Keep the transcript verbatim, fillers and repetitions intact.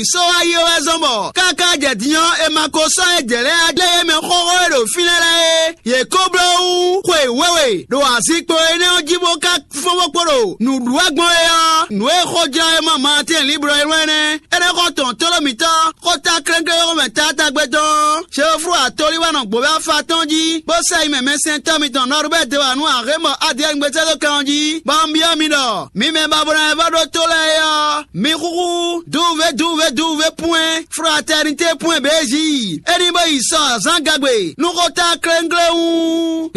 Só wá yi wɛ zɔn bɔ káká jɛ din ɔ́, è ma ko sɔ́ yɛ jɛ lɛ́ɛ lé e mɛ xóxó e ɖo fínɛ́ lɛ́ɛ é. Yě ko bló wú xwe wěwe ɖo azikpo énɛ́ ɔ́ jí bó ká fɔ́n bó kpo ɖo nǔɖuɖu gbɔn é ɔ́, nǔ e xó jlá e ma Maatɛ́n Liblɔ é wɛn nɛ́. Énɛ́ xɔ tɔn tlóló mǐtɔn xó ta klɛ́nklɛ́n xó mɛ taatagbe tɔn. Xeweflú atolí wá nɔ gbǒ bɛ afa tɔn jí, bó sɛ yi mɛ mɛsɛntɔ́ mitɔn Nɔrubɛ́ de wǎ nú Ahémɔ Adiyɛ́ngbétɛ́ dó kan ɔ́ jí, bɔ un byɔ́ mi ɖɔ mi mɛ babɔnɔ e vɔ́ ɖó tó lɛ́ɛ é ɔ́, mi xúxú dúve dúve dúve pwɛ́n fraternité pwɛ́n bězí. É ní bó yi sɔ azǎn gagbe nú xó ta kléŋkléŋ.